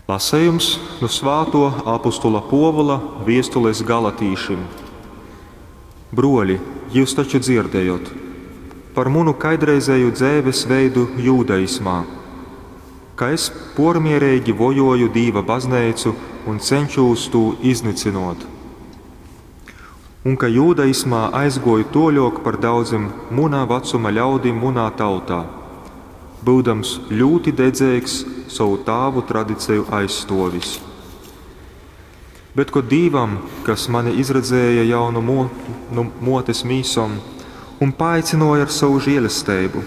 Lasejums nu svātuo apustula Puovula viestules galatīšim. Bruoļi, jyus taču dzierdejot par munu kaidreizēju dzeives veidu jūdaismā, ka es pōrmiereigi vojōju Dīva Bazneicu un ceņšūs tū iznycynōt. Un ka jūdaismā aizgōju tōļōk par daudzim muna vacuma ļaudim munā tautā, byudams ļūti dedzeigs sovu tāvu tradiceju aizstōvis. Bet kod Dīvam, kas mani izredzēja jau nu nu mōtes mīsom un paaicynōja ar sovu želesteibu,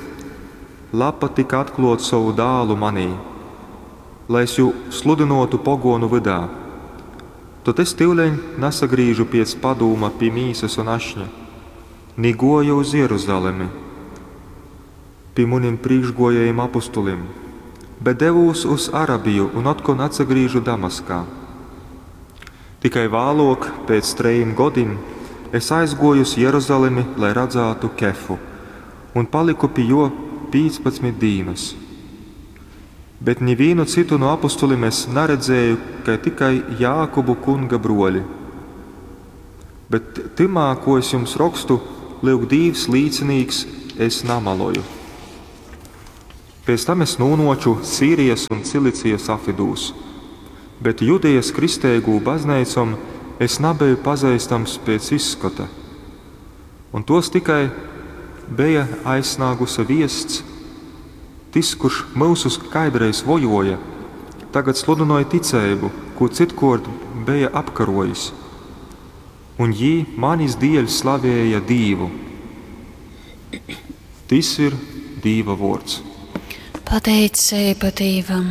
labpatyka atklōt sovu Dālu manī, lai es jū sludynōtu pogōnu vydā, tod es tyuleņ nasagrīžu piec padūma pi mīsas un ašņa, ni gōju uz Jeruzalemi pi munim prīškgōjējim apustulim, bet devūs uz Arabiju un otkon atsagrīžu Damaskā. Tikai vālōk, pēc trejim godim, es aizgōju uz Jeruzalemi, lai radzātu Kefu, un palyku pi jō 15 dīnas. Bet nivīnu cytu nu apustulim es naredzēju, kai tikai Jākubu Kunga brōli. Bet tymā, kū es jums rokstu, lyuk Dīvs līcinīks, es namaloju. Pēc tam es nūnōču Sīrijas un Cilicijas apvydūs, bet Judejas kristeigū bazneicom es nabeju pazeistams pēc izskota. Un tōs tikai beja aizsnāguse viests, Tys, kurš myusus kaidreiz vojōja, tagad sludynoj ticeibu, kū cytkōrt beja apkarōjis. Un jī manis dieļ slavēja Dīvu. Tys ir Dīva vōrds. Pateiceiba Dīvam.